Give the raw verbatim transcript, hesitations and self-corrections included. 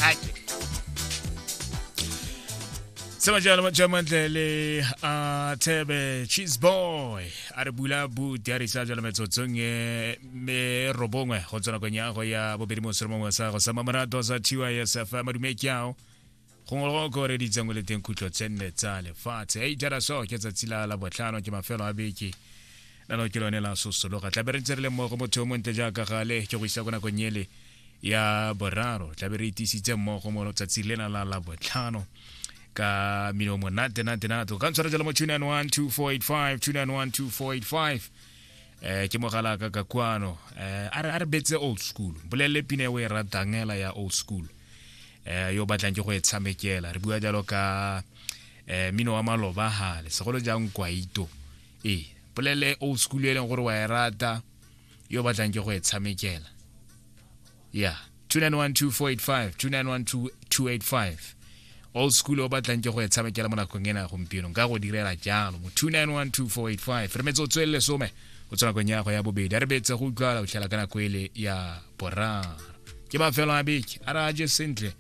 Ake. Sema jalo majamantle le a Thebe Cheese Boy a re bula buti a re isa jalo metsotsong e me robongwe go tswa nakong ya go ya bobedi mo seromongwe sa go sa mamorato sa T Y S F madume ke ao gongwe go ko reditseng o le teng khutlo tse nne tsa lefatshe. Ei jara so ke tsatsi la la botlhano ke mafelo a beke la lo ke lone la sosologa tla be re ntse re le mmogo motho o montle jaaka gale ke go isa ko nakong ele ya boraro tla be re itisitse mmogo mo letsatsi lena la la botlhano ka mino monate nate nate ka ntshwara jalo mo two nine one two four eight five two nine one two four eight five eh ke mogala ka ka kwano eh a re a re betse old school bolelle pina e o e ratang ela ya old school eh yo batlang ke go e tshamekela re bua jalo ka eh mino wa maloba hale segolo jang kwaito e bolelle old school e leng gore wa e rata yo batlang ke go e tshamekela yeah two nine one two four eight five two nine one two two eight five old school o batlang ke go e tshamekela mo nakong ena ya gompieno nka go direla jalo mo two nine one two four eight five re metsotso e le lesome go tswa nakong ya go ya bobedi a re betse go utlwala go tlhela ka nako ele ya boraro ke mafelo a beke a re a je sentle